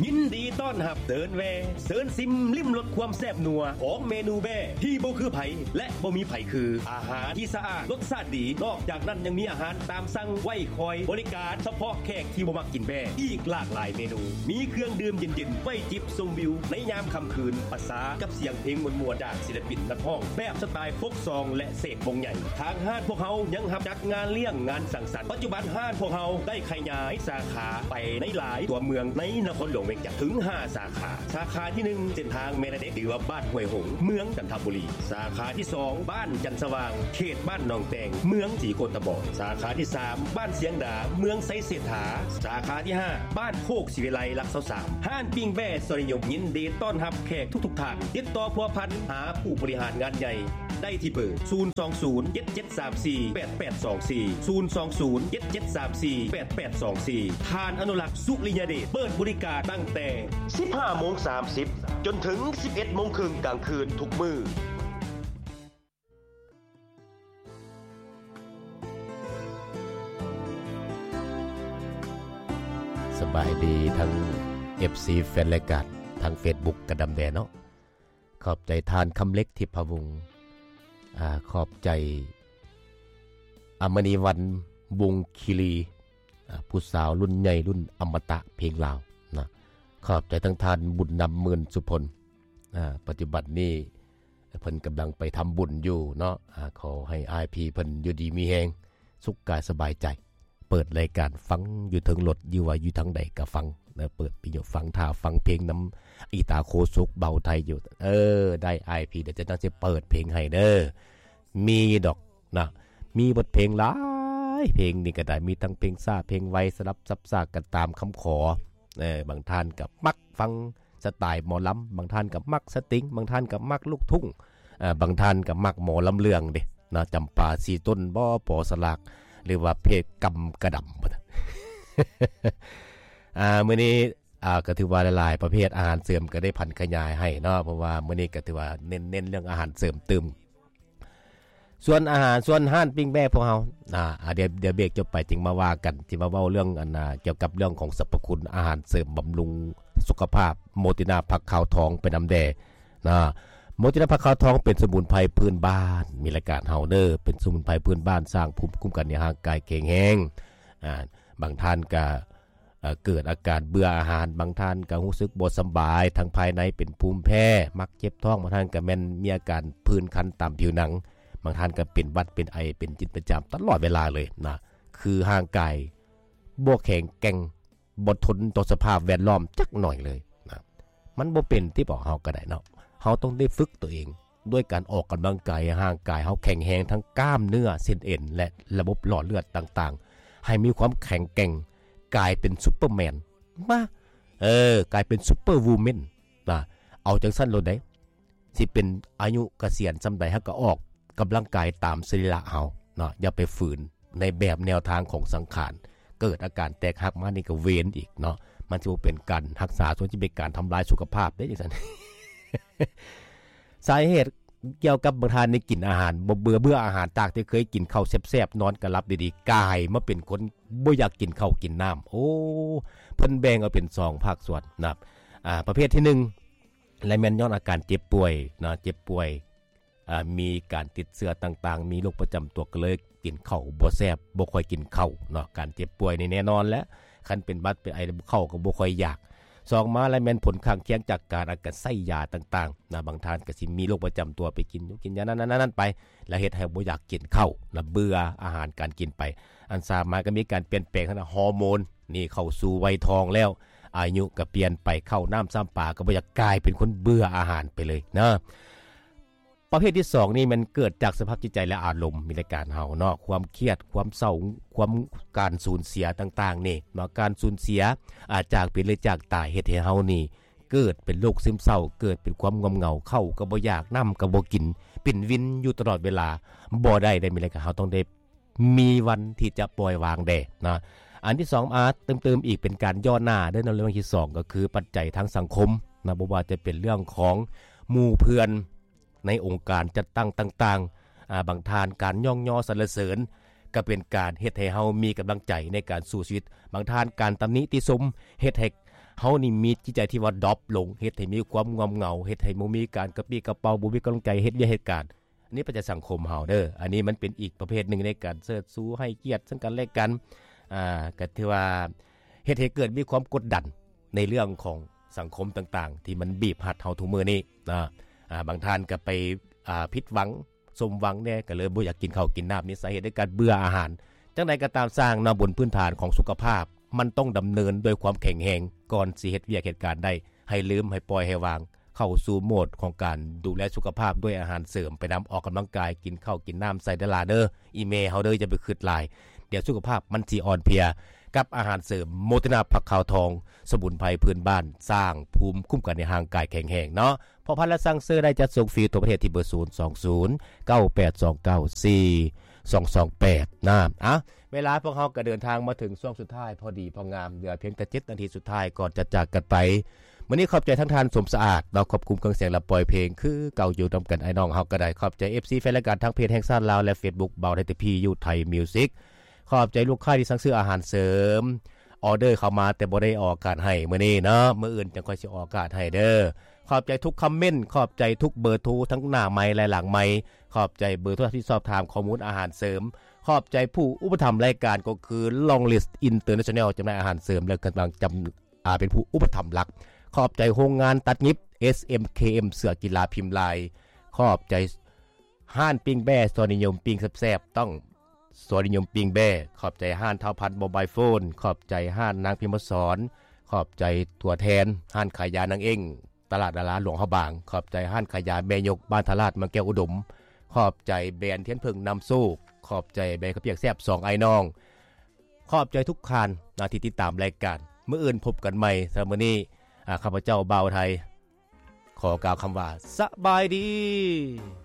ຍິນດີຕ້ອນຮັບເດີນແວ່ ເຊີນຊິມລິມລົດຄວາມແຊບນົວຂອງເມນູແບ້ທີ່ບໍ່ຄືໃຜ ແລະ ບໍ່ມີໃຜຄື. ອາຫານທີ່ສະອາດ, ລົດຊາດດີ, ນອກຈາກນັ້ນຍັງມີອາຫານຕາມສັ່ງໄວ້ຄອຍບໍລິການສະເພາະແຂກທີ່ບໍ່ມັກກິນແບ້ ອີກຫຼາກຫຼາຍເມນູ. ມີເຄື່ອງດື່ມເຢັນໆ ໄວ້ຈິບຊົມວິວໃນຍາມຄ່ຳຄືນ ປະສານກັບສຽງເພງມ່ວນໆ ຈາກສິນລະປິນນັກຮ້ອງແບບສະໄຕລ໌ໂຟກຊອງ ແລະ ເສກວົງໃຫຍ່. ທາງຮ້ານພວກເຮົາຍັງຮັບຈັດງານລ້ຽງ, ງານສັງສັນ. ປັດຈຸບັນຮ້ານພວກເຮົາໄດ້ຂະຫຍາຍສາຂາໄປໃນຫຼາຍຕົວເມືອງໃນນະຄອນຫຼວງວຽງຈັນ ເຖິງຫ້າສາຂາ. ສາຂາທີໜຶ່ງ ເສັ້ນທາງແມ່ນາເດັກ ຫຼືວ່າບ້ານຫ້ວຍຫົງ ເມືອງຈັນທະບູລີ. ສາຂາທີສອງ ບ້ານຈັນສະຫວ່າງ ເຂດບ້ານໜອງແຕງ ເມືອງສີໂຄດຕະບອງ. ສາຂາທີສາມ ບ້ານຊຽງດາ ເມືອງໄຊເສດຖາ. ສາຂາທີຫ້າ ບ້ານໂຄກສີວິໄລ ຫຼັກຊາວສາມ. ຮ້ານປີ້ງແບ້ຊອຍນິຍົມ ຍິນດີຕ້ອນຮັບແຂກທຸກໆທ່ານ. ຕິດຕໍ່ພົວພັນຫາຜູ້ບໍລິຫານງານໃຫຍ່ ໄດ້ທີ່ເບີ ສູນສອງສູນ ເຈັດເຈັດສາມສີ່ ແປດແປດສອງສີ່ ສູນສອງສູນ ເຈັດເຈັດສາມສີ່ ແປດແປດສອງສີ່. ທ່ານອະນຸລັກ ສຸລິຍະເດດ ເປີດບໍລິການຕັ້ງແຕ່ສິບຫ້າໂມງສາມສິບ ຈົນເຖິງສິບເອັດໂມງເຄິ່ງກາງຄືນທຸກມື້. ສະບາຍດີທັງ ເອັຟຊີ ແຟນລາຍການ ທາງເຟສບຸກກະດຳແດ່ເນາະ. ຂອບໃຈທ່ານຄຳເລັກ ທິບພະວົງ ອາ ຂອບໃຈ ອາມະນີວັນ ວົງຄີລີ ອາ ຜູ້ສາວລຸ້ນໃຫຍ່ລຸ້ນອະມະຕະເພງລາວນະ. ຂອບໃຈທັງທ່ານບຸນນຳ ໝື່ນສຸພົນ ອາ ປັດຈຸບັນນີ້ເພິ່ນກຳລັງໄປທຳບຸນຢູ່ເນາະ. ອາ ຂໍໃຫ້ອ້າຍພີ່ເພິ່ນຢູ່ດີມີແຮງ ສຸກກາຍສະບາຍໃຈ. ເປີດລາຍການຟັງຢູ່ເທິງລົດ ຫຼືວ່າຢູ່ທາງໃດກະຟັງ ເປີດວິທະຍຸຟັງ ຖ້າຟັງເພງນຳອີຕາໂຄສຸກ ເບົາໄທຢູ່. ເອີ ໄດ້ອ້າຍພີ່ ດຽວຈະຕ້ອງຊິເປີດເພງໃຫ້ເດີ. ມີດອກນະ ມີບົດເພງຫຼາຍເພງນີ້ກະໄດ້ ມີທັງເພງຊ້າເພງໄວ ສະຫຼັບສັບສາບກັນຕາມຄຳຂໍ. ເອີ ບາງທ່ານກະມັກຟັງ ສະໄຕລ໌ໝໍລຳ ບາງທ່ານກໍມັກສະຕິງ ບາງທ່ານກໍມັກລູກທຸ່ງ ເອີ ບາງທ່ານກໍມັກໝໍລຳເລື່ອງເດ້ເນາະ ຈຳປາສີຕົນບໍ ປໍສະຫຼາກ ຫຼືວ່າເພກຳກະດຳ. ອາ ມື້ນີ້ ອາ ກໍຖືວ່າຫຼາຍໆປະເພດອາຫານເສີມກໍໄດ້ຜັນຂະຫຍາຍໃຫ້ເນາະ ເພາະວ່າມື້ນີ້ກໍຖືວ່າເນັ້ນ ເນັ້ນເລື່ອງອາຫານເສີມຕື່ມ. ສ່ວນອາຫານ ສ່ວນຮ້ານປີ້ງແບ້ພວກເຮົາ ອາ ດຽວ ດຽວເບຣກຈົບໄປຈຶ່ງມາວ່າກັນ ທີ່ມາເວົ້າເລື່ອງ ອັນ ອາ ກ່ຽວກັບເລື່ອງຂອງສັບພະຄຸນອາຫານເສີມບຳລຸງສຸຂະພາບ ໂມຕິນາຜັກຂາວທອງໄປນຳແດ່ນະ. ໂມຕິນາຜັກຂາວທອງເປັນສະໝຸນໄພພື້ນບ້ານ ມີລາຍການເຮົາເດີ ເປັນສະໝຸນໄພພື້ນບ້ານ ສ້າງພູມຄຸ້ມກັນໃຫ້ຮ່າງກາຍແຂງແຮງ. ອາ ບາງທ່ານກະ ເອີ ເກີດອາການເບື່ອອາຫານ ບາງທ່ານກໍຮູ້ສຶກບໍ່ສະບາຍທາງພາຍໃນ ເປັນພູມແພ້ ມັກເຈັບທ້ອງ ບາງທ່ານກໍແມ່ນມີອາການຜື່ນຄັນຕາມຜິວໜັງ ບາງທ່ານກໍເປັນຫວັດ ເປັນໄອ ເປັນຈິດເປັນຈາມຕະຫຼອດເວລາເລີຍນະ. ຄືຮ່າງກາຍບໍ່ແຂງແກ່ງ ບໍ່ທົນຕໍ່ສະພາບແວດລ້ອມຈັກໜ້ອຍເລີຍນະ. ມັນບໍ່ເປັນຕິ ບອກເຮົາກໍໄດ້ເນາະ. ເຮົາຕ້ອງໄດ້ຝຶກຕົວເອງ ດ້ວຍການອອກກຳລັງກາຍ ໃຫ້ຮ່າງກາຍເຮົາແຂງແຮງ ທັງກ້າມເນື້ອ ເສັ້ນເອັນ ແລະ ລະບົບຫຼອດເລືອດຕ່າງໆ ໃຫ້ມີຄວາມແຂງແກ່ງ ກາຍເປັນຊຸບເປີແມນ ມາ ເອີ ກາຍເປັນຊຸບເປີວູແມນນະ. ເອົາຈັ່ງຊັ້ນໂລດເດ້ ຊິເປັນອາຍຸກະສຽນສ່ຳໃດ ເຮົາກໍອອກກຳລັງກາຍຕາມສະລີລະເຮົາເນາະ ຢ່າໄປຝືນໃນແບບແນວທາງຂອງສັງຂານ. ເກີດອາການແຕກຫັກມານີ້ກໍເວນອີກເນາະ ມັນຊິບໍ່ເປັນການຮັກສາ ສ່ວນຊິເປັນການທຳລາຍສຸຂະພາບເດ້ຈັ່ງຊັ້ນ. ສາເຫດກ່ຽວກັບບາງທ່ານນີ້ກິນອາຫານບໍ່ເບື່ອ ເບື່ອອາຫານ ຈາກທີ່ເຄີຍກິນເຂົ້າແຊບໆ ນອນກໍຫຼັບດີໆ ກາຍມາເປັນຄົນບໍ່ຢາກກິນເຂົ້າກິນນ້ຳ. ໂອ້ ເພິ່ນແບ່ງອອກເປັນສອງພາກສ່ວນນະ. ອາ ປະເພດທີໜຶ່ງ ແລະ ແມ່ນຍ້ອນອາການເຈັບປ່ວຍເນາະ ເຈັບປ່ວຍ ອາ ມີການຕິດເຊື້ອຕ່າງໆ ມີໂລກປະຈຳຕົວ ກໍເລີຍກິນເຂົ້າບໍ່ແຊບ ບໍ່ຄ່ອຍກິນເຂົ້າເນາະ. ການເຈັບປ່ວຍນີ້ແນ່ນອນແຫຼະ ຄັນເປັນຫວັດເປັນໄອ ເຂົ້າກໍບໍ່ຄ່ອຍຢາກ. ສອງມາແລ້ວແມ່ນຜົນຂ້າງຄຽງຈາກການ ອາ ການໃຊ້ຢາຕ່າງໆນະ ບາງທ່ານກໍຊິມີໂລກປະຈຳຕົວ ໄປກິນຢູ່ກິນຢານັ້ນໆໆໄປ ແລ້ວເຮັດໃຫ້ບໍ່ຢາກກິນເຂົ້ານະ ເບື່ອອາຫານການກິນໄປ. ອັນສາມມາກໍມີການປ່ຽນແປງທາງດ້ານຮໍໂມນ ນີ້ເຂົ້າສູ່ໄວທອງແລ້ວ ອາຍຸກໍປ່ຽນໄປ ເຂົ້ານ້ຳຊ້ຳປາກໍບໍ່ຢາກ ກາຍເປັນຄົນເບື່ອອາຫານໄປເລີຍນະ. ປະເພດທີສອງນີ້ແມ່ນເກີດຈາກສະພາບຈິດໃຈ ແລະ ອາລົມ ມີລາຍການເຮົາເນາະ ຄວາມຄຽດ ຄວາມເສົ້າ ຄວາມ ການສູນເສຍຕ່າງໆນີ້ເນາະ ການສູນເສຍ ອາ ຈາກເປັນ ຫຼື ຈາກຕາຍ ເຮັດໃຫ້ເຮົານີ້ເກີດເປັນໂລກຊຶມເສົ້າ ເກີດເປັນຄວາມງ່ອມເຫງົາ ເຂົ້າກໍບໍ່ຢາກ ນ້ຳກໍບໍ່ກິນ ເປັນວິນຢູ່ຕະຫຼອດເວລາ ບໍ່ໄດ້ເດ້ ມີລາຍການເຮົາຕ້ອງໄດ້ ມີວັນທີ່ຈະປ່ອຍວາງແດ່ນະ. ອັນທີສອງ ອາ ເຕີມໆອີກເປັນການຍໍ້ໜ້າເດີເນາະ ເລື່ອງທີສອງກໍຄືປັດໄຈທາງສັງຄົມນະ ບໍ່ວ່າຈະເປັນເລື່ອງຂອງໝູ່ເພື່ອນໃນອົງການຈັດຕັ້ງຕ່າງໆ ອາ ບາງທ່ານການຍ້ອງຍໍສັນລະເສີນ ກໍເປັນການເຮັດໃຫ້ເຮົາມີກຳລັງໃຈໃນການສູ້ຊີວິດ. ບາງທ່ານການຕຳໜິຕິຊົມ ເຮັດໃຫ້ ເຮົານີ້ມີຈິດໃຈທີ່ວ່າດຣອບລົງ ເຮັດໃຫ້ມີຄວາມງ່ອມເຫງົາ ເຮັດໃຫ້ບໍ່ມີການກະປີ້ກະເປົາ ບໍ່ມີກຳລັງໃຈເຮັດວຽກເຮັດການ. ອັນນີ້ປະຈາສັງຄົມເຮົາເດີ ອັນນີ້ມັນເປັນອີກປະເພດໜຶ່ງໃນການເສີດຊູໃຫ້ກຽດເຊິ່ງກັນແລະກັນ ອ່າ ກໍຖືວ່າເຮັດໃຫ້ເກີດມີຄວາມກົດດັນໃນເລື່ອງຂອງສັງຄົມຕ່າງໆ ທີ່ມັນບີບຮັດເຮົາທຸກມື້ນີ້ນະ. ອ່າ ບາງທ່ານກໍໄປ ອ່າ ຜິດຫວັງ ສົມຫວັງແດ່ ກໍເລີຍບໍ່ຢາກກິນເຂົ້າກິນນ້ຳ ນີ້ສາເຫດໃນການເບື່ອອາຫານ. ຈັ່ງໃດກໍຕາມຊ່າງເນາະ ບົນພື້ນຖານຂອງສຸຂະພາບ ມັນຕ້ອງດຳເນີນດ້ວຍຄວາມແຂງແຮງ ກ່ອນຊິເຮັດວຽກເຮັດການໄດ້ ໃຫ້ລືມ ໃຫ້ປ່ອຍ ໃຫ້ວາງ ເຂົ້າສູ່ໂໝດຂອງການດູແລສຸຂະພາບດ້ວຍອາຫານເສີມ ໄປນຳອອກກຳລັງກາຍ ກິນເຂົ້າກິນນ້ຳໃສ່ເດີຫຼາເດີ ອີ່ແມ່ເຮົາເດີ ຢ່າໄປຄຶດຫຼາຍ ດຽວສຸຂະພາບມັນຊິອ່ອນເພຍ. ກັບອາຫານເສີມໂມເຕນາຜັກຂາວທອງ ສະໝຸນໄພພື້ນບ້ານ ສ້າງພູມຄຸ້ມກັນໃຫ້ຮ່າງກາຍແຂງແຮງເນາະ. ພໍພັນ ແລະ ສັ່ງຊື້ໄດ້ ຈັດສົ່ງຟຣີທົ່ວປະເທດທີ່ເບີ ສູນສອງສູນ ເກົ້າແປດສອງເກົ້າ ສີ່ສອງສອງແປດ ນະ. ອ່ະ ເວລາພວກເຮົາກໍເດີນທາງມາເຖິງຊ່ວງສຸດທ້າຍພໍດີພໍງາມ ເຫຼືອພຽງແຕ່ເຈັດນາທີສຸດທ້າຍກ່ອນຈະຈາກກັນໄປ. ມື້ນີ້ຂອບໃຈທາງທ່ານ ສົມສະອາດ ເນາະ ຄວບຄຸມເຄື່ອງສຽງ ແລະ ປ່ອຍເພງ ຄືເກົ່າຢູ່ນຳກັນ ອ້າຍນ້ອງເຮົາກໍໄດ້. ຂອບໃຈເອັຟຊີແຟນລາຍການທາງເພຈແຫ່ງຊາດລາວ ແລະ ເຟສບຸກ ບ່າວໄທ ທີ ພີ ຢູ ໄທ ມິວສິກ. ຂອບໃຈລູກຄ້າທີ່ສັ່ງຊື້ອາຫານເສີມ ອອເດີເຂົ້າມາແຕ່ບໍ່ໄດ້ອອກອາກາດໃຫ້ມື້ນີ້ເນາະ ມື້ອື່ນຈັ່ງຄ່ອຍຊິອອກອາກາດໃຫ້ເດີ. ຂອບໃຈທຸກຄອມເມັນ ຂອບໃຈທຸກເບີໂທ ທັງໜ້າໄມ ແລະ ຫຼັງໄມ. ຂອບໃຈເບີໂທທີ່ສອບຖາມຂໍ້ມູນອາຫານເສີມ. ຂອບໃຈຜູ້ອຸປະຖຳລາຍການ ກໍຄື Long List International ຈຳໜ່າຍອາຫານເສີມ ແລະ ກຳລັງຈຳ ອ່າ ເປັນຜູ້ອຸປະຖຳຫຼັກ. ຂອບໃຈໂຮງງານຕັດຫຍິບ ເອສເອັມ ເຄເອັມ ເສື້ອກິລາພິມລາຍ. ຂອບໃຈຮ້ານປີ້ງແບ້ ສອນນິຍົມ ປີ້ງແຊບໆ ຕ້ອງ ສອນນິຍົມປີ້ງແບ້. ຂອບໃຈຮ້ານທ້າວພັນ ໂມບາຍໂຟນ. ຂອບໃຈຮ້ານນາງພິມມະສອນ. ຂອບໃຈຕົວແທນຮ້ານຂາຍຢານາງເອັ້ງ ຕະຫຼາດດາລາຫຼວງພະບາງ. ຂອບໃຈຮ້ານຂາຍຢາແມ່ຍົກ ບ້ານທ່າລາດ ເມືອງແກ້ວອຸດົມ. ຂອບໃຈແບຣນທຽນເຜິ້ງນຳໂຊກ. ຂອບໃຈແບຣນເຂົ້າປຽກແຊບສອງອ້າຍນ້ອງ. ຂອບໃຈທຸກທ່ານນະທີ່ຕິດຕາມລາຍການ. ມື້ອື່ນພົບກັນໃໝ່. ສຳລັບມື້ນີ້ ອາ ຂ້າພະເຈົ້າ ບ່າວໄທ ຂໍກ່າວຄຳວ່າ ສະບາຍດີ.